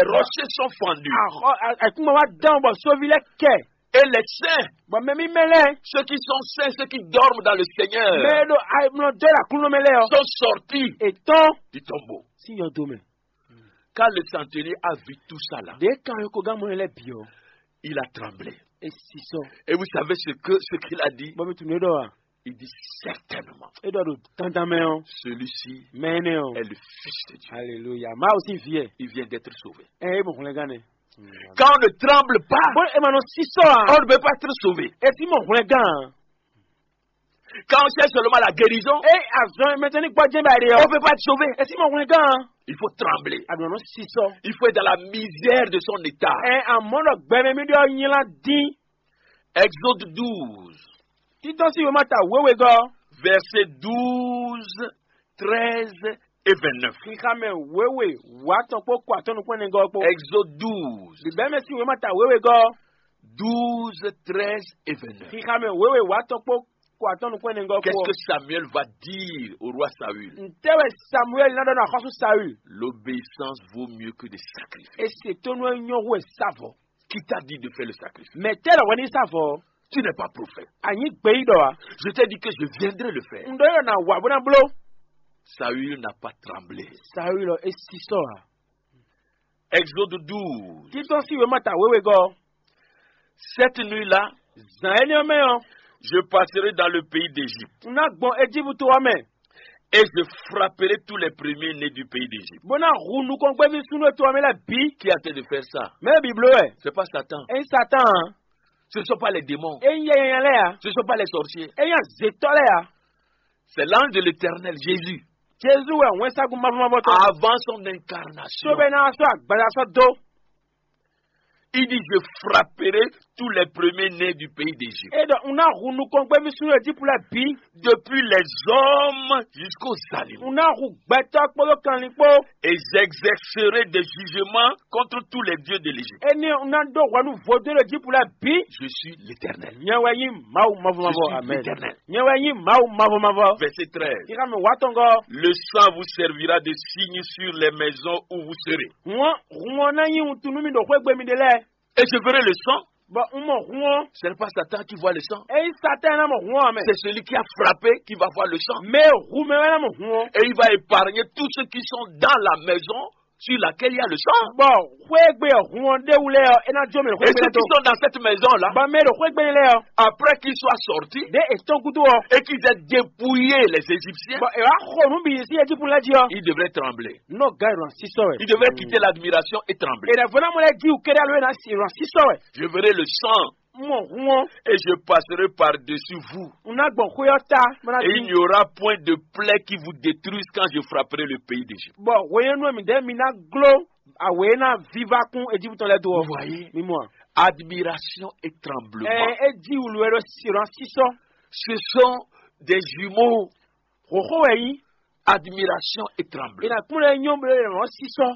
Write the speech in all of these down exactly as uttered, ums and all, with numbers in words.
Les rochers sont fendus. Axɔ a- Ayǐkúngban wá dán bɔ sóví lɛ́ɛ kɛ. Et les saints, Bɔ mɛ mímɛ́ lɛ́ɛ, ceux qui sont saints, ceux qui dorment dans le Seigneur, mɛ e ɖo ayimlɔ dó ɖo Aklúnɔ mɛ lɛ́ɛ ɔ́, sont sortis è tɔ́n du tombeau. Sín yɔdo mɛ. Quand le centenier a vu tout ça là, Ɖě kan yɔkɔgán mɔ lɛ́ɛ bǐ ɔ́, il a tremblé. É sísɔ. Et vous savez ce que, ce qu'il a dit? Bɔ mi tunú é ɖɔ wa. Il dit certainement, É ɖɔ ɖo dandan mɛ ɔ́, celui-ci mɛ énɛ́ ɔ́, est le Fils de Dieu. Aleluya, Mawu sín vǐ ɛ. Il vient d'être sauvé. Ɛ é mɔ hwlɛngán nɛ. Quand on ne tremble pas, Bó é ma nɔ sísɔ a? On ne peut pas être sauvé. É sí mɔ hwlɛngán a? Quand on cherche seulement la guérison, É azɔn mɛtɔn ní gbɔjɛ́ bá ɖe on ɔ́, ne peut pas être sauvé. É sí mɔ hwlɛngán a? Il faut trembler. A nɔ nɔ sísɔ. Il faut être dans la misère de son état. Ɛ amɔ̌ ɖɔ gbɛmɛ mi ɖɔ nyla dín. Exode douze, Títɔ́ sí wěma ta wěwe gɔ́. Verset douze, treize et vingt-neuf. Xixa mɛ wěwe wǎ tɔn kpó kɔ atɔ́ nukún ɛnɛ gɔ́ kpó. Exode douze, Bǐbɛ́ mɛ sí wěma ta wěwe gɔ́. Douze, treize et vingt-neuf. Xixa mɛ wěwe wǎ tɔn kpó kɔ atɔ́ nukún ɛnɛ gɔ́ kpó. Qu'est-ce que Samuel va dire au roi Saül? Ntɛ́ wɛ Samuɛ́li ná ɖɔ nú axɔ́sú Saül? L'obéissance vaut mieux que des sacrifices. É se tónú e nyɔ́ hú e sa vɔ̌. Qui t'a dit de faire le sacrifice? Mɛ tɛ́ lɔ hwɛ ní sa vɔ̌? Tu n'es pas prophète. A nyǐ gbeyíɖɔ a? Je t'ai dit que je viendrai le faire. Un ɖɔ yɔ na wa bó ná bló. Saül n'a pas tremblé. Saül ɔ é sísɔ a? Exode douze. Títɔ́ sí wěma ta wěwe gɔ́. Cette nuit-là, Zǎn énɛ́ ɔ́ mɛ ɔ́, je passerai dans le pays d'Égypte. Un ná gbɔn Ejípútu ɔ́ mɛ. Et je frapperai tous les premiers-nés du pays d'Égypte. Bó ná hu nukɔngbéví súnnu e to ɔ́ mɛ lɛ́ɛ bǐ. Qui a tenté de faire ça? Mɛ e bǐ bló wɛ. C'est pas Satan. É nyí Satán ǎ. Ce ne sont pas les démons. É nyí yɛ nyanya lɛ́ɛ ǎ. Ce ne sont pas les sorciers. É nyí azětɔ́ lɛ́ɛ ǎ. C'est l'ange de l'Éternel, Jésus. Jezu wɛ wɛnsagun mavɔmavɔ tɔn. Avant son incarnation, Sóbɛ ná sɔ́ agbaza sɔ́ dó. Il dit, je frapperai tous les premiers-nés du pays d'Égypte. É ɖɔ un ná hu nukɔngbéví súnnu Ejíptu lɛ́ɛ bǐ. Depuis les hommes jusqu'aux animaux. Un ná hu gbɛtɔ́ kpódó kanlin kpó. Et j'exercerai des jugements contre tous les dieux de l'Égypte. Énɛ́ un ná ɖó hwɛ nú vodún Ejíptu lɛ́ɛ bǐ. Je suis l'Éternel. Nyɛ wɛ nyí Mawu mavɔmavɔ. Je suis l'Éternel. Nyɛ wɛ nyí Mawu mavɔmavɔ. Verset treize. Xixa mɛ wǎ tɔn gɔ́. Le sang vous servira de signe sur les maisons où vous serez. Hǔn ɔ́, hǔn ɔ́ ná nyí wuntun nú mi ɖo xwé gbe mi ɖe lɛ́ɛ. Et je verrai le sang. Bɔ un mɔ hǔn ɔ́. Ce n'est pas Satan qui voit le sang. É nyí Satán ná mɔ hǔn ɔ́ mɛ. C'est celui qui a frappé qui va voir le sang. Mɛ e hu mɛ wɛ ná mɔ hǔn ɔ́. Et il va épargner tous ceux qui sont dans la maison sur laquelle il y a le sang. Bɔ xwé gbe ɔ́, hǔn ɔ́ ɖ'é wú lɛ́ɛ ɔ́, é ná jó mɛ ɖo xwé Et gbe ceux lɛ́ɛ qui tó. Sont dans cette maison-là, Bɔ mɛ e ɖo xwé gbe lɛ́ɛ ɔ́, après qu'ils soient sortis, ɖě è tɔ́n gúdo ɔ́, Et qu'ils aient dépouillé les Égyptiens, bɔ è wá xo nǔ bǐ sín Ejíptu lɛ́ɛ jí ɔ́, ils devraient trembler. Nɔ gǎ ìrɔn sísɔ wɛ. Ils devraient quitter l'admiration et trembler. È nǎ vɔ ná mɔ lɛ́ɛ jí wǔ kéré alo è nǎ sí ìrɔn sísɔ wɛ. Je verrai le sang. Mɔ hun ɔ́. Et je passerai par-dessus vous. Un ná gbɔn xwé ɔ́ ta, bó ná Et il n'y aura point de plaie qui vous détruise quand je frapperai le pays d'Égypte. Bɔ hwenyɛnu e mǐdɛɛ mi ná gló awě e ná viva kún Ejíptɔn lɛ́ɛ dó ɔ́. Vous voyez? Mi mɔ a? Admiration et tremblement. Ɛ é jí wǔlu wɛ ɖo sirɔn sísɔ. Ce sont des jumeaux. Hǒxo wɛ yí. Admiration et tremblement. È nǎ kplɔ́n ɛ nyɔ́ bló è nǎ sisɔ.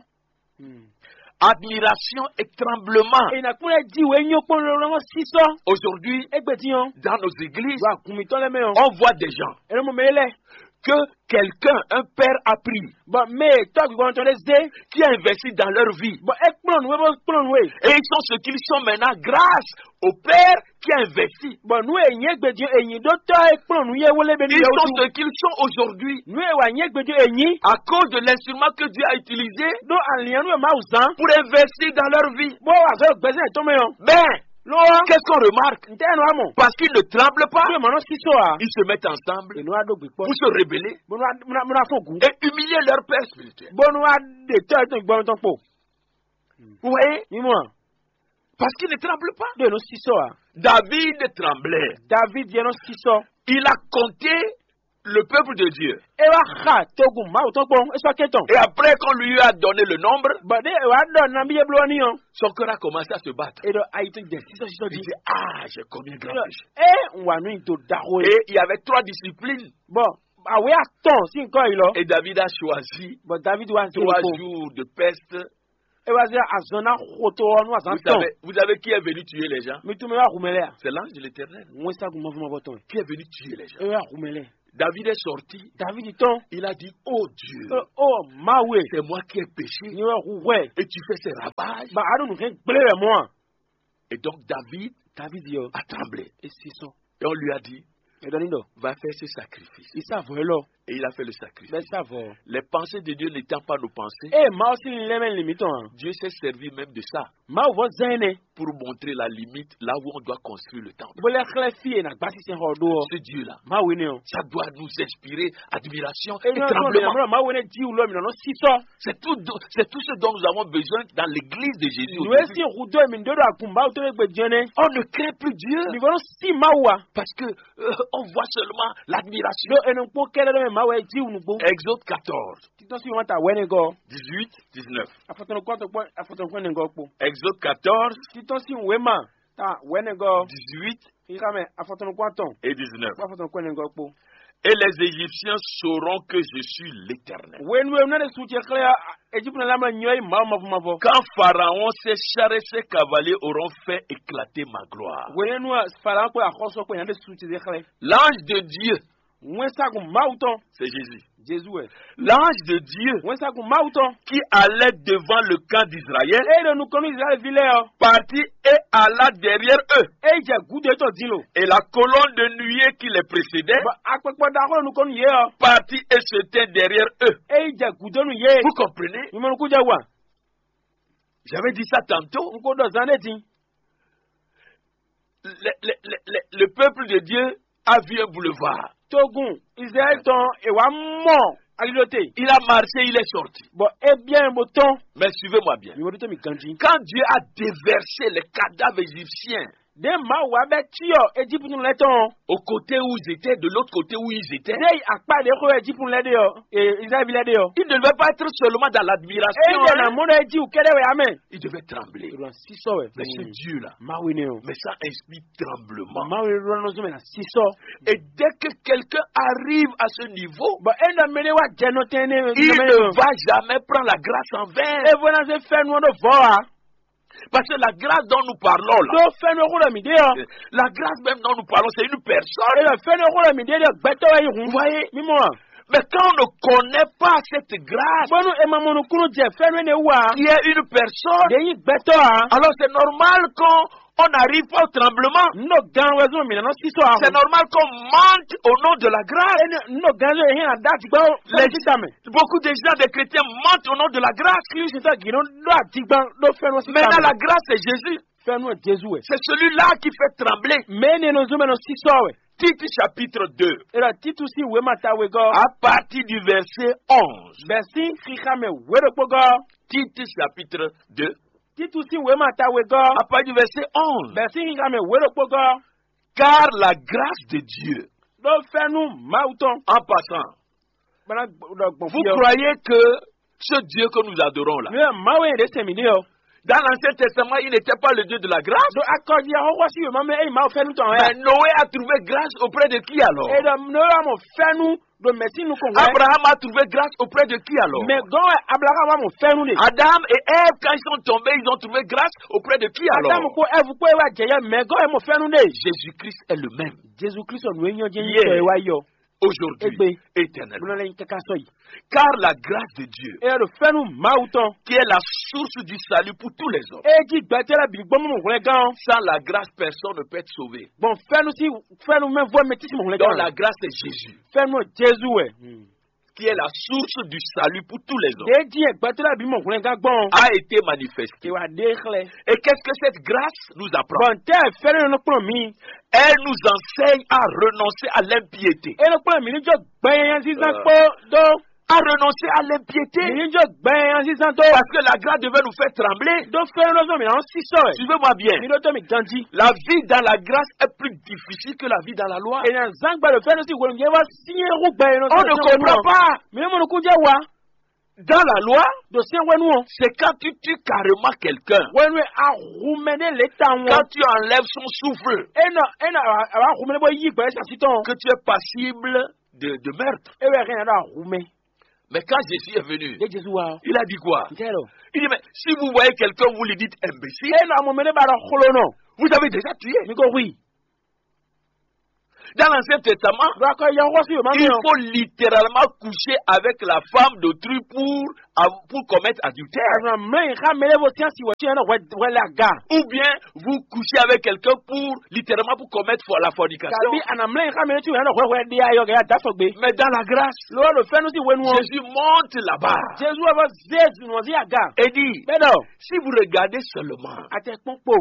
Admiration et tremblement. È nǎ kplɔ́n ɛ jí wě nyɔ́ kpɔ́n ló ló sisɔ. Aujourd'hui, Égbé din ɔ́, Dans nos églises, Wà gùn mǐtɔn lɛ́ɛ mɛ ɔ́, On voit des gens È nɔ mɔ mɛ lɛ́ɛ. Que quelqu'un, un père a pris, Bɔ mɛ e tɔ́ gbígbɔn tɔn ɖé zé. Qui a investi dans leur vie. Bɔ é kplɔ́n nǔ é bó kplɔ́n nǔ é. Et ils sont ce qu'ils sont maintenant grâce au père qui a investi. Bɔ nǔ e nyí égbé din è nyǐ ɖó tɔ́ é kplɔ́n nǔ yé wó lé bɛ nú Ils yɛ sont wútu. Ce qu'ils sont aujourd'hui Nǔ e wà nyí égbé din è nyǐ. À cause de l'instrument que Dieu a utilisé Ɖó alǐnnyánú e Mawu zán. Pour investir dans leur vie. Bó wà zɔ́ gbɛzɛ́ tɔn mɛ ɔ́. Ben, Ló wá. Qu'est-ce qu'on remarque? Ntɛ́ nɔ amɔ. Parce qu'ils ne tremblent pas. Bí mɔnɔ sísɔ a. Ils se mettent ensemble Ènú wa ɖó gbè kpɔ. Pour se rebeller Bó nɔ bó nɔ fɔ gùn. Et humilier leur père spirituel. Bó nɔ wa ɖe tɔ ètò ìgbɔn tɔn kpo. Vous voyez? Mímú a. Parce qu'ils ne tremblent pas. Ɖo ènú sísɔ a. David tremblait. David yɛ nɔ sísɔ. Il a compté le peuple de Dieu. É wá xa togun Mawu tɔn kpɔn é sɔ́ kɛntɔn. Et après, quand lui a donné le nombre, Bɔn ɖé é wá ɖɔ nabí é bló ní ɔ́. Son cœur a commencé à se battre. É ɖɔ ayi tɔn jɛ sísɔ sísɔ Il jí. Dit, ah, j'ai commis un grand péché. É wà nú ìdó daxo é. Et il y avait trois disciplines. Bɔn àwé atɔn sí nǹkan yìí lọ. Et David a choisi Bɔn David wá sí trois jours de peste. É wá sí azɔn ná xo tó ɔ́ nú azɔn Vous tɔn. Savez, vous savez qui est venu tuer les gens? Mi tún mi wá hu mɛ lɛ a. C'est l'ange de l'Éternel Wọ́n ságun mọ́fúnmọ́fọ́ tɔn. Qui est venu tuer les gens. É wá hu mɛ lɛ. David est sorti. David tɔn. Il a dit, oh Dieu, oh, oh, Mawe, c'est moi qui ai péché. Ni wɛ hu hwɛ. Et tu fais ces ravages. Ba anu nu hɛn gblé wɛ mɔ. Et donc David, David yɔ, a tremblé. Et si sɔ. Et on lui a dit, et dɔn ni dɔ, va faire ce sacrifice. Isa vɔ lɔ. Et il a fait le sacrifice. Bɛ sa vɔ. Les pensées de Dieu n'étant pas nos pensées, e ma ɔsi lɛmɛ limi tɔn. Dieu s'est servi même de ça. Mawu vɔ zɛn ne. Pour montrer la limite là où on doit construire le temple. Bó lɛ xlɛ fi e na gbasi sɛn xɔ ɖó ɔ. Ce Dieu-là, Mawu ne ɔ. Ça doit nous inspirer admiration et tremblement. Mawu ne di wulɔ mi nɔ si sɔ. C'est tout, c'est tout ce dont nous avons besoin dans l'église de Jésus. Nue si hudo mi ndo do agun Mawu to gbe jɛnɛ. On ne craint plus Dieu. Mi vɔ si Mawu a. Parce que euh, on voit seulement l'admiration. Lo enu kpɔn kɛlɛ dɔ mi Mawu e di wunu gbo. Exode quatorze. Titɔ si wɔn ta wɛnɛ gɔ. Dix-huit, dix-neuf. Afɔtɔnukɔtɔ kpɔ afɔtɔnukɔtɔ gɔ kpo. Exode quatorze. Titɔ si wema ta wɛnɛ gɔ. Dix-huit. Xixa mɛ afɔtɔnukɔtɔ. Et dix-neuf. Kpɔ afɔtɔnukɔtɔ gɔ kpo. Et les Égyptiens sauront que je suis l'Éternel. Wenu wenu ne su ce xlɛ Egypte na lamla nyɔ yi mawu mavɔ mavɔ. Quand Pharaon, ses chars et ses cavaliers auront fait éclater ma gloire. Wenu Pharaon kpɔ axɔsɔ kpɔ yan de su ce xlɛ. L'ange de Dieu, wɛnsagun Mawu tɔn. C'est Jésus. Jésus wɛ. L'ange de Dieu, wɛnsagun Mawu tɔn. Qui allait devant le camp d'Israël, e ɖo nukɔn nú Israël vi lɛ ɔ. Partit et alla derrière eux. E jɛ gudo etɔn din lo. Et la colonne de nuée qui les précédait, bɔ akpɛkpɔ ɖaxó ɖo nukɔn nú yě ɔ. Partit et se tint derrière eux. E jɛ gudo nú yě. Vous comprenez? Mi mɔ nukun jɛ wa. J'avais dit ça tantôt. N ko ɖɔ zan ɖé din. Le, le, le, le, le peuple de Dieu a vu un boulevard. Togun Israël tɔn e wa mɔ alilote. Il a marché, il est sorti. Bon, eh bien, bon ton. Mais suivez-moi bien. Mi wodito mi ganji. Quand Dieu a déversé les cadavres égyptiens, de ma wa bɛ tiyɔ Egypte lɛ tɔn. Au côté où ils étaient, de l'autre côté où ils étaient, de akpa de ko Egypte lɛ de yɔ, eh, Israël lɛ de yɔ. Il ne devait pas être seulement dans l'admiration. Eh, hein? Na mɔ de Egypte kɛdɛ wɛ amɛ. Il devait trembler. Sisɔ wɛ. Mais ce Dieu-là, Mawu ne o. Mais ça inspire tremblement. Mawu ne lɔ nɔ zɔn mɛ na sisɔ. Et dès que quelqu'un arrive à ce niveau, bon, e nɔ mɛ ne wa jɛ nɔ tɛn ne. Il ne va jamais prendre la grâce en vain. E vɔ na se fɛn nɔ do vɔ a. Parce que la grâce dont nous parlons là, do fɛn nɔ ko dɔ mi de yɔ. La grâce même dont nous parlons, c'est une personne. E dɔ fɛn nɔ ko dɔ mi de dɔ gbɛtɔ wɛ yi hun. Vous voyez? Mi mɔ. Mais quand on ne connaît pas cette grâce, bɔnu e ma mɔ nukunu jɛ fɛn ne wa, qui est une personne, de yi gbɛtɔ a. Alors c'est normal qu'on on n'arrive pas au tremblement. N ɖo gan wɛ zɔn mi nana sisɔ a. C'est normal qu'on mente au nom de la grâce. E ne n ɖo gan zɔn e hin a da ti gbɔ. Les, beaucoup de gens, des chrétiens, mentent au nom de la grâce. Kristu tɔ gino ɖo adigban ɖo fɛn nɔ si. Maintenant la grâce c'est Jésus. Fɛn nɔ Jésus wɛ. C'est celui-là qui fait trembler. Mɛ ne nɔ zɔn mɛ nɔ sisɔ wɛ. Tite chapitre deux. E ɖɔ Titus si wema ta wegɔ. À partir du verset onze. Bɛsi xixa mɛ we ɖokpo gɔ. Tite chapitre deux. Titus si wema ta wegɔ. À partir du verset onze. Bɛsi xixa mɛ we ɖokpo gɔ. Car la grâce de Dieu. Ɖo fɛnu Mawu tɔn. En passant, bana ɖɔ gbɔn. Vous croyez que ce Dieu que nous adorons là, mi wɛ Mawu e ɖe sɛn mi ɖe ɔ. Dans l'Ancien Testament, il n'était pas le Dieu de la grâce. Ɖo akɔji axɔxɔ si wema mɛ eyi Mawu fɛnu tɔn wɛ. Mais Noé a trouvé grâce auprès de qui alors? E ɖɔ Noé wa mɔ fɛnu ɖo mɛsi nukɔn wɛ. Abraham a trouvé grâce auprès de qui alors? Mɛ gɔn wɛ Abraham wa mɔ fɛnu de. Adam et Ève, quand ils sont tombés, ils ont trouvé grâce auprès de qui alors? Adam kpo Ève kpo e wa jɛ yɛ mɛ gɔn wɛ mɔ fɛnu de. Jésus-Christ est le même. Jesu Kristu nu e nyɔ jɛ nyitɔ e wa yɔ. Aujourd'hui, éternellement. Car la grâce de Dieu, e ɖo fɛnu Mawu tɔn, qui est la source du salut pour tous les hommes, e ji gbɛtɛ lɛ bi gbɔn mɔ hwlɛngán. Sans la grâce, personne ne peut être sauvé. Bon, fɛnu si fɛnu mɛ vɔ mɛ tisi mɔ hwlɛngán. Donc la grâce c'est Jésus, fɛnu Jesu wɛ, qui est la source du salut pour tous les hommes, e ji gbɛtɛ lɛ bi mɔ hwlɛngán gbɔn, a été manifesté. E wa de xlɛ. Et qu'est-ce que cette grâce nous apprend? Bon, tɛ fɛnu nɔ kplɔn mi. Elle nous enseigne à renoncer à l'impiété. E nɔ kplɔn mi ni jɔ gbɛnyanya zizan kpo do. À renoncer à l'impiété. Mi ni jɔ gbɛnyanya zizan do. Parce que la grâce devait nous faire trembler. Do fɛnu nɔ zɔn mi na si sɔ. Suivez-moi bien. Mi ɖo to mi ganji. La vie dans la grâce est plus difficile que la vie dans la loi. E na zan gbɛ do fɛnu si wolo yɛ wa siɲɛ hu gbɛ yɛ nɔ. On ne comprend pas. Mi mɔ nukun jɛ wa. Dans la loi, do sɛn wɛnu ɔ. C'est quand tu tues carrément quelqu'un. Wɛnu a hu mɛ ne le ta ŋɔ. Quand tu enlèves son souffle. E nɔ e nɔ a wa hu mɛ ne bɔ yi gbɛ sa si tɔn. Que tu es passible de, de meurtre. E wɛ hɛn na do a hu mɛ. Mais quand Jésus est venu, e Jésus wa. Il a dit quoi? N tɛ lɔ. Il dit, mais si vous voyez quelqu'un, vous lui dites imbécile. E nɔ a mɔ mɛ ne ba dɔ xlo nɔ. Vous avez déjà tué. Mi ko hui. Dans l'Ancien Testament, il faut littéralement coucher avec la femme d'autrui pour, pour commettre adultère. Aɖu na mlɔ́ nyi xá mɛ ɖěvo sín asi wɛ tí ɛ nɔ hwɛ hwɛ lɛ aga. Ou bien vous couchez avec quelqu'un pour littéralement pour commettre for- la fornication. Tàbí àná mlɔ́ nyi xá mɛ ɖé tí ɛ nɔ hwɛ hwɛ ɖe ayɔ gɛ ya dá sɔgbe. Mais dans la grâce, Ló wá ɖo fɛ́nú sí hwenu ɔ́. Jésus monte là-bas Jezu wá vɔ zé zunɔ sí aga. Et dit, Bɛ́ ɖɔ si vous regardez seulement, Àtɛ kpɔ́n kpo.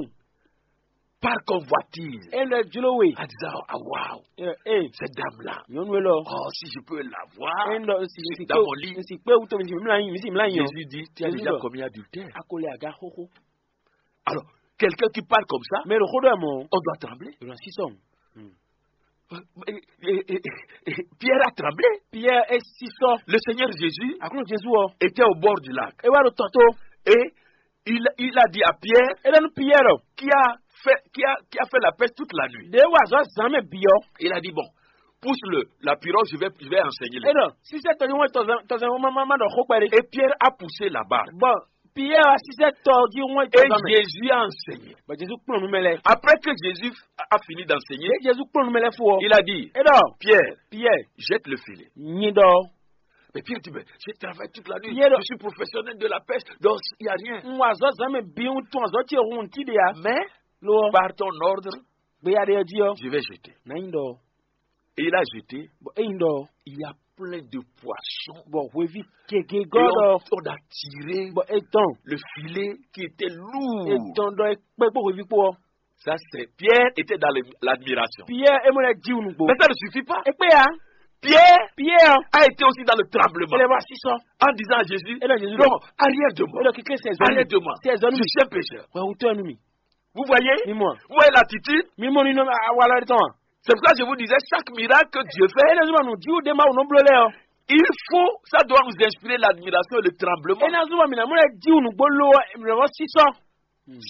Par convoitise, Ɛ lɛ jló we. En disant, ah, waouh, Ɛ ee. Cette dame-là, Nyɔnu élɔ́. Oh, si je peux la voir, Ɛ lɔ si si dans mon lit. Si kpé wútu mi si mlá yín mi si mlá yín. Jésus dit, tu as déjà commis adultère. A ko lè aga xóxó. Alors, quelqu'un qui parle comme ça, Mɛ ɖo xó ɖɔ mɔ. On doit trembler. Ìrọ̀ sísọ. Et- et- et- et- Pierre a tremblé. Pierre est sísọ. Le Seigneur Jésus Àkúrò Jezu ɔ. Était au bord du lac. E wá ɖo tɔto. Et il, il a dit à Pierre, E lɛ nu Pierre. Qui a fait, qui a, qui a fait la pêche toute la nuit. De wa zɔ zan mɛ bi ɔ. Il a dit, bon, pousse-le, la pirogue, je vais, je vais enseigner les gens. E nɔ sisɛ tɔjú wọn tɔzɛn wọn ma ma ɖɔ xó kpɛɖé. Et Pierre a poussé la barque. Bon, Pierre a sisɛ tɔjú wọn Et tɔzɛn mɛ. Jésus a enseigné. Bon, Jesu kplɔn nu mɛ lɛ. Après que Jésus a fini d'enseigner, Jesu kplɔn nu mɛ lɛ fo ɔ. Il a dit, E dɔ Pierre, Pierre, jette le filet. Nyi dɔ. Mais Pierre dit, mais je travaille toute la nuit. Pierre. Je suis professionnel de la pêche, donc il n'y a rien. N wa zɔ zan mɛ bi n tún azɔ tse hun ti de ya. Mais Lo ɔ. Par ton ordre, Gbeya de ɔ ji ɔ. Je vais jeter. Na nyi dɔ. Et il a jeté. Bɔn eyi dɔ. Il y a plein de poissons. Bɔn hwevi gege Et gɔdɔ. On, on a tiré Bɔn etɔn. Le filet qui était lourd. Etɔn dɔ ekpɛ kpɔ hwevi kpɔ. Ça, c'est Pierre était dans le- l'admiration. Pierre emɔ lɛ ji nugbo. Mais ça ne suffit pas. Ekpe ya. Pierre Pierre. A été aussi dans le tremblement. Ele va sisɔ. En disant à Jésus, Ele Jésus non, arrière de moi. Ele kike sɛ zɔnu. Arrière de moi. Sɛ zɔnu. Je suis un pécheur. Wɛ wutɔ nu mi. Vous voyez? Mi mɔ. Vous voyez l'attitude? Mi mɔ nínú awalɔ yɛn tɔn. C'est pour ça que je vous disais, chaque miracle que Dieu fait, Ele zuma nu jiwu de ma wò nɔ blo lɛ ɔ. Il faut, ça doit nous inspirer l'admiration et le tremblement. Ena zuma mina mɔ lɛ jiwu nugbo lo ɔ mìlɛ wɔ sisɔ.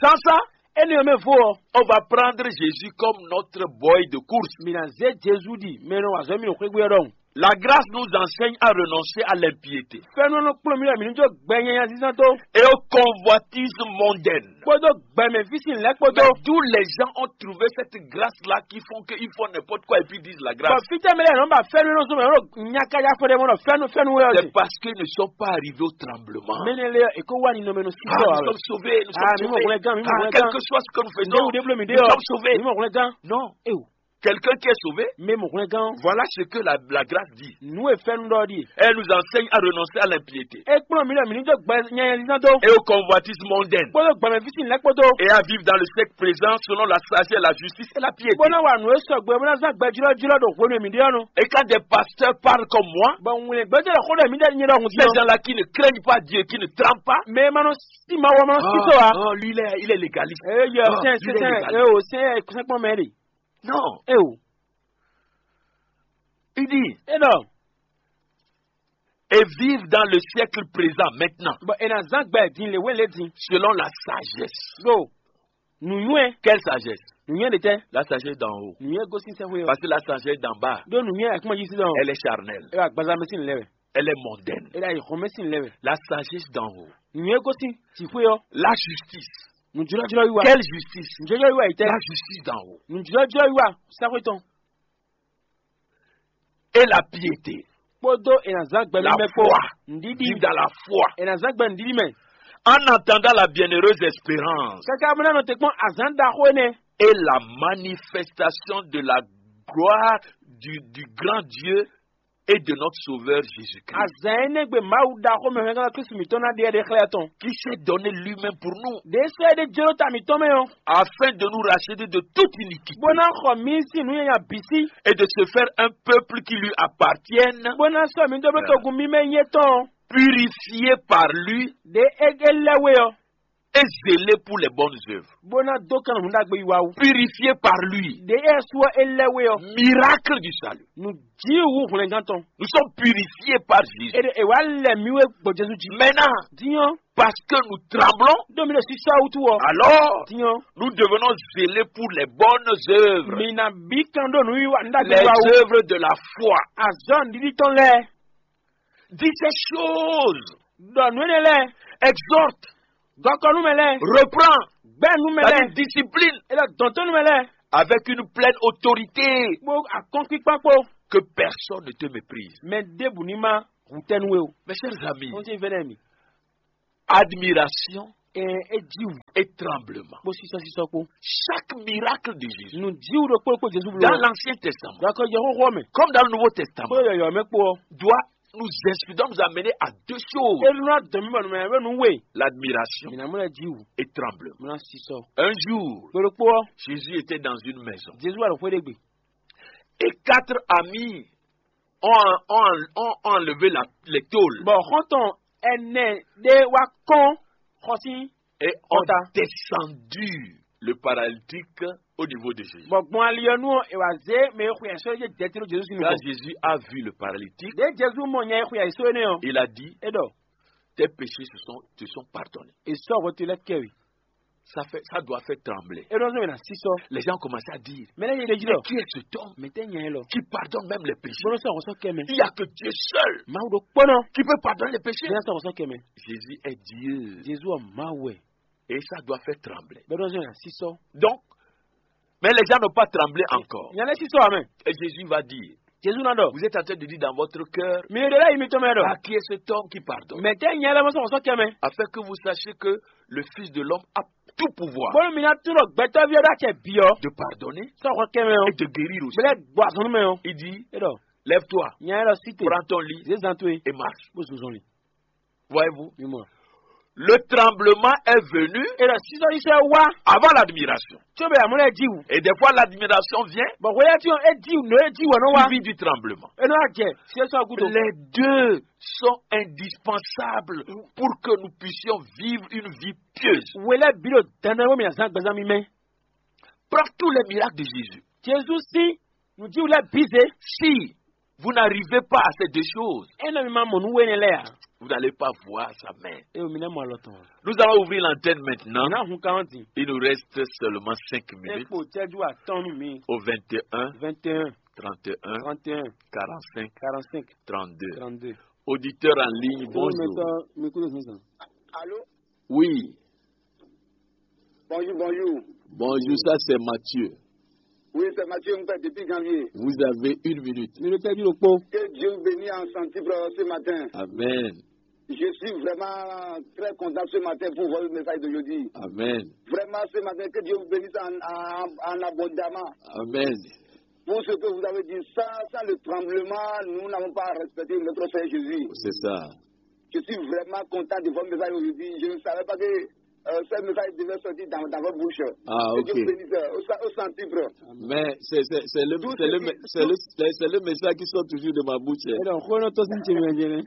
Sans ça, Eni ɔ mɛ vo ɔ. On va prendre Jésus comme notre boy de course. Mina zé Jezu di mɛ nɔ wazɔ mi nɔ xwégbé ɔ dɔn. La grâce nous enseigne à renoncer à l'impiété. Fɛnú nɔ kplɔn mi lɛ mi ní jó gbɛnyanya sísán tó. Et aux convoitises mondaines. Kpódó gbɛmɛ físí lɛ kpódó. Mais d'où les gens ont trouvé cette grâce-là qui font qu'ils font n'importe quoi et puis disent la grâce. Bɔn fítɛ mi lɛ nɔ ba fɛnú nɔ sɔmɔ yɔrɔ nyakaja fɔ dɛ mɔ nɔ fɛnú fɛnú wɛ ɔ. C'est parce qu'ils ne sont pas arrivés au tremblement. Mɛ ne lɛ eko wa ni nɔ mɛ nɔ si Ah, sɔ nous awɛ. Sommes sauvés, nous Ah, sommes mi mɔ sauvés. Kɔlɛ gan, mi mɔ Ah, kɔlɛ gan. Quel que soit ce que nous faisons, Ndewu de blo mi de nous ɔ. Sommes sauvés. Mi mɔ kɔlɛ gan. Non. Ewu. Quelqu'un qui est sauvé, Mi mɔ kɔlɛ gan. Voilà ce que la, la grâce dit. Nu e fɛnú dɔ di. Elle nous enseigne à renoncer à l'impiété. E kplɔn mi lɛ mi ní jó gbɛ nyanya sísán tó. Et aux convoitises mondaines. Kpódó gbɛmɛ físí lɛ kpódó. Et à vivre dans le siècle présent selon la sagesse, la justice et la piété. Bó ná wà nù e sɔgbe bó ná zán gbɛ jlɔ́ jlɔ́ ɖo hwenu e mi ɖe ɔ́ nu. Et quand des pasteurs parlent comme moi, Bɔn ŋun gbɛdɔ lɛ xó ɖɔ mi ɖe nyɛ ɖɔ ŋun ces gens-là qui ne craignent pas Dieu, qui ne tremblent pas, Mɛ ma nɔ si ma wɔ ma nɔ si sɔ wa. Ah, lui, il est, il est légaliste. Ee yɔ Ah, sɛn il est sɛn légaliste. Ee o sɛn sɛn kpɔn mɛ de. Non. Ee o. Il dit, E dɔ. Et vivre dans le siècle présent maintenant, Bɔn e na zán gbɛ din le wele din. Selon la sagesse. Do. Nuyɔɛ. Quelle sagesse? Nuyɔɛ de tɛ. La sagesse d'en haut. Nuyɔɛ gosi sɛ hwe ɔ. Parce que la sagesse d'en bas, Do nuyɔɛ akuma yi si dɔn. Elle est charnelle. E wa gbaza mɛ si lɛ wɛ. Elle est mondaine. E la yi xɔmɛ si lɛ wɛ. La sagesse d'en haut. Nuyɔɛ gosi si hwe ɔ. La justice. Nujɔlɔjɔlɔ yi wa. Quelle justice? Nujɔlɔjɔlɔ yi tɛ. La justice d'en haut. Nujɔlɔjɔlɔ yi wa. Sɛ hwe tɔn. Et la piété. Kpódó e na zán gbɛ La mímɛ kpó. Foi. Ndídí. Vivre dans la foi. E na zán gbɛ ndídí mɛ. En attendant la bienheureuse espérance. Kaka mɔ nɔ te kpɔn azán ɖaxó énɛ́. Et la manifestation de la gloire du, du grand Dieu et de notre Sauveur Jésus-Christ. Azán énɛ́ gbe Mawu ɖaxó mɛ hɛn kan Kristu mǐtɔn ná ɖe ɖe xlɛ́ tɔn. Qui s'est donné lui-même pour nous. Ɖě sɔ́ é ɖé jló ta mǐtɔn mɛ ɔ́. Afin de nous racheter de toute iniquité. Bó ná xɔ mí sín nǔ nyanya bǐ sí. Et de se faire un peuple qui lui appartienne. Bó ná sɔ́ mǐ dó bló togun mímɛ́ nyí étɔn. Purifié par lui. Ɖě é é lɛ́ we ɔ́. Et zélé pour les bonnes œuvres. Bó ná dó kɛn nǔ ɖagbe yi wa wú. Purifié par lui. Ɖě é sú ɔ́ é lɛ́ we ɔ́. Miracle du salut. Nǔ jí wú hwlɛngán tɔn. Nous sommes purifiés par Jésus. É ɖe é wá lɛ mǐ wé gbɔ Jezu jí. Maintenant, Dín ɔ́, parce que nous tremblons, ɖó mi ɖo sísá wútu ɔ́. Alors, Dín ɔ́, nous devenons zélés pour les bonnes œuvres. Mi ná bí kan ɖó nǔ wiwa nǔ ɖagbe Les wiwa wú. Œuvres de la foi. Azɔ̌ nǔɖiɖi tɔn lɛ́ɛ. Dis ces choses. Ɖɔ nǔ énɛ́ lɛ́ɛ. Exhorte. Gɔkɔ nú mɛ lɛ́ɛ. Reprends. Gbɛ́ nú mɛ lɛ́ɛ. C'est-à-dire discipline. É ɖɔ dɔn tó nú mɛ lɛ́ɛ. avec une pleine autorité, bó akɔ́nkpíkpá kpó, que personne ne te méprise. Mɛ ɖěbǔ ní má hutɛ́nú we o. Mes chers amis, Wọ́n ti fẹ́ dɛ mi. Admiration Ɛ é jí wǔ et tremblement. Bó sísɔ sísɔ kpó. Chaque miracle de Jésus Nǔ jí wǔ ɖokpó kpó Jezu bló. Dans l'Ancien Testament, Gakɔ yɛ xóxó mɛ. Comme dans le Nouveau Testament, Kpó yɔyɔ mɛ kpó ɔ. Doit nous inspirer, doit nous amener à deux choses. Enu ná dɔn mí bɔ nǔmɛ bɛ nǔ we. L'admiration Mina mú lɛ jí wǔ. Et tremblement. Mina sísɔ. Un jour, Kpó ɖokpó ɔ. Jésus était dans une maison. Jezu wà lɔ xwé ɖé gbe. Et quatre amis ont, ont, ont enlevé la, les tôles. Bɔ xɔntɔn ɛnɛ ɖé wá kɔn xɔsí. Et ont Kɔta. Descendu le paralytique au niveau de Jésus. Bɔ gbɔn ali ɔ́ nu ɔ́, è wǎ zé mɛ e xwe ɛ sɔ́ jɛ jɛtiro Jezu sin Quand nukɔn. Jésus a vu le paralytique, Ɖě Jezu mɔ nya e xwe ɛ sɔ́ énɛ́ ɔ́, Il a dit, é ɖɔ, tes péchés se sont, te sont pardonnés. È sɔ́ hwɛ towe lɛ́ɛ kɛ we. Ça fait, ça doit faire trembler. É ɖɔ sɔ́ mɛ na sísɔ. Les gens commencent à dire, Mɛ lɛ́ɛ yɛ ɖe jí mais lɔ. Qui est cet homme Mɛ tɛ nya e lɔ. Qui pardonne même les péchés? Bolo sɔ́ hwɛ sɔ́ kɛ mɛ. Il n'y a que Dieu seul Mawu ɖo kpɔnɔ. Qui peut pardonner les péchés. Mɛ sɔ́ hwɛ sɔ́ kɛ mɛ. Jésus est Dieu. Jezu ɔ Mawu wɛ. Et ça doit faire trembler. Bɛ ɖɔ sɔ́ mɛ na sísɔ. Donc, mais les gens n'ont pas tremblé encore. Nya lɛ sísɔ amɛ. Et Jésus va dire, Jezu na ɖɔ. Vous êtes en train de dire dans votre cœur, Mi ɖe lɛ yi mi tɔn mɛ ɖɔ. Ah, qui est cet homme qui pardonne? Mɛ tɛ nya lɛ mɔ sɔ́ hwɛ sɔ́ kɛ mɛ. Afin que vous sachiez que le Fils de l'homme a tout pouvoir Bolo mi na tu ɖɔ gbɛtɔ́ví ɔ́ ɖo acɛ bi ɔ. De pardonner Sɔ́ hwɛ kɛ mɛ ɔ. Et de guérir aussi. Bɛlɛ gbɔ azɔn mɛ ɔ. Il dit, É ɖɔ. Lève-toi, Nya lɛ ɖɔ sí te. Prends ton lit Zé zan to ye. Et marche. Bó zun zɔn li. Voyez-vous? Mi mɔ. Le tremblement est venu É ɖɔ sísɔ sísɔ wá. Avant l'admiration. Tso bɛ amúlẹ̀ jí wù. Et des fois, l'admiration vient Bɔn hwelɛ́ tí é jí nɔ é jí wɔ nɔ wá. Suivi du tremblement. É nɔ jɛ sísɔ gúdo. Les deux sont indispensables pour que nous puissions vivre une vie pieuse. Hwelɛ́ bí ɖo dandan wé mi azán gbɛzán mi mɛ. Prends tous les miracles de Jésus. Jezu sí nǔjíwú lɛ́ɛ bǐ zé. Si vous n'arrivez pas à ces deux choses, É nɔ mi ma mɔ nǔ wé nɛ lɛ́ɛ a? Vous n'allez pas voir sa main. É o mi nɛ mɔ alɔ tɔn. Nous allons ouvrir l'antenne maintenant. Ná hun kan ɔ́ din. Il nous reste seulement cinq É minutes. Kpo cɛ́jú atɔ́nú mi. Au vingt et un, Vingt et un, trente et un, trente et un, quarante-cinq, quarante-cinq, trente-deux. Trente-deux. Auditeur en ligne, bonjour. Mɛtɔ mi kúrò sísan. Allô? Oui. Bonjour, bonjour. Bonjour, ça c'est Mathieu. Oui, c'est Mathieu Mpe depuis Janvier. Vous avez une minute. Mi ɖo cɛ́jú ɖokpó. Que Dieu vous bénisse en santé ce matin. Amen. Je suis vraiment très content ce matin pour votre message d'aujourd'hui. Amen. Vraiment, ce matin, que Dieu vous bénisse en, en, en abondamment. Amen. Pour ce que vous avez dit, sans, sans le tremblement, nous n'avons pas respecté notre Seigneur Jésus. C'est ça. Je suis vraiment content de votre message aujourd'hui. Je ne savais pas que euh, ce message devait sortir dans, dans votre bouche. Ah, ok. Que Dieu vous bénisse euh, au, au centuple. Mais c'est c'est- c'est le, Tout c'est le, ceci- c'est le, c'est c'est le message qui sort toujours de ma bouche. Ɛ dɔn xó nɔ tɔ́ sí ce mɛ jɛnɛ.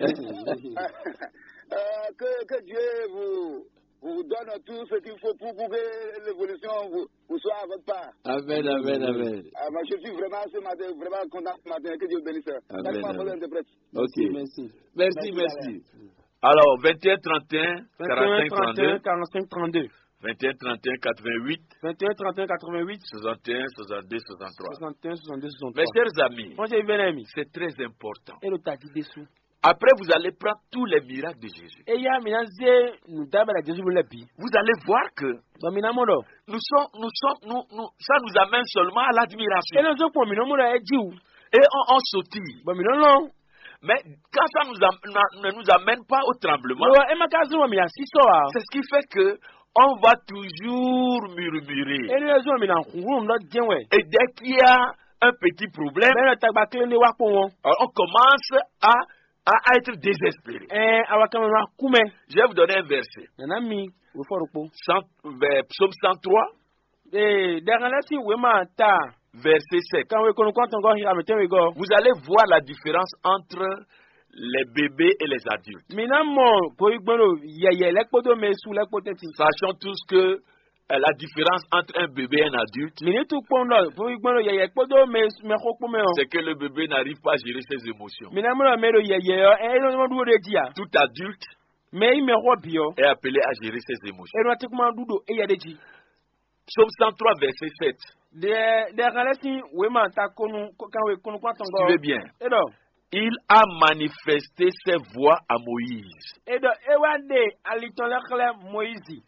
Euh, que, que Dieu vous, vous donne tout ce qu'il faut pour, pour que l'évolution vous, vous soit à votre part. Amen, amen, amen. Euh, moi, je suis vraiment ce matin, vraiment content ce matin. Que Dieu bénisse. Amen, Chaque fois, amen. Bonne interprète. Ok. Merci. Merci, merci. Alors, vingt et un trente et un, quarante-cinq trente-deux. Vingt et un trente et un quatre-vingt-huit. Vingt et un trente et un quatre-vingt-huit. Soixante et un, soixante-deux, soixante-trois. Soixante et un, soixante-deux, soixante-trois. Mes chers amis, Wọ́n ṣe ìbéèrè mi. C'est très important. É ló tají désú. Après, vous allez prendre tous les miracles de Jésus. Eya mi ná zé nùdábàdà Jésù lɛ bí. Vous allez voir que Bɔn mi ná mɔ ɖɔ. Nous sommes, nous sommes, nous, nous, ça nous amène seulement à l'admiration. É ló zó pọ̀ mi ná mɔ ɖɔ ɛ jí wù. Et on, on sautille. Bɔn mi ná lɔn. Mais quand ça nous am- na- ne nous amène pas au tremblement, Lɔ ɛ má ká zó mi asísɔ a. C'est ce qui fait que on va toujours murmurer. É ló zó mi ná kúrú ńlọ jẹ́ wɛ. Et dès qu'il y a un petit problème, Bẹ́ẹ̀ lọ tagba kílé ní wá pọ̀ wọn. On commence à, à, à être désespéré. Ɛ awa kan ma kú mɛ. Je vais vous donner un verset. Nana mi wò fɔ ɖokpo. Cent- euh, psaume cent trois, Ee, dɛgɛlɛ si wema ta. Verset sept. Kan we kɔnɔ kɔntɔn gɔ hira mi tɛn we gɔ. Vous allez voir la différence entre les bébés et les adultes. Mi ná mɔ goyigbɔn ɖo yɛyɛ lɛ kpódó mɛ su lɛ kpó tɛnti. Sachons tous que euh, la différence entre un bébé et un adulte, Mi ní tún kpɔn ɖɔ goyigbɔn ɖo yɛyɛ kpódó mɛ mɛ xó kpó mɛ ɔ. C'est que le bébé n'arrive pas à gérer ses émotions. Mi ná mɔ ɖɔ mɛ ɖo yɛyɛ ɔ, ɛ ɛ nɔ ɖu ɖe di a. Tout adulte Mɛ yi mɛ xɔ bi ɔ. Est appelé à gérer ses émotions. Ɛ nɔ ti kuma ɖu ɖo eya ɖe ji. Psaume cent trois, verset sept. Ɖe ɖe xalɛ si wema ta konu kan we konu kɔn atɔn gɔ. Suivez bien. E ɖɔ. Il a manifesté ses voies à Moïse. E ɖɔ e wa ɖe alitɔn lɛ xlɛ Moyizi.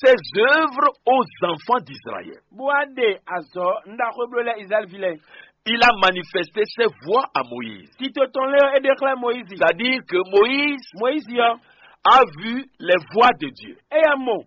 ses œuvres aux enfants d'Israël. Bó wá ɖe azɔ̌ nɖaxó bló lɛ́ Israɛl ví lɛ́ɛ. Il a manifesté ses voies à Moïse. Tito tɔn lé ɔ́, é ɖe xlɛ́ Moyizi. C'est-à-dire que Moïse Moyizi ɔ́, a vu les voies de Dieu. éyɛ́ mɔ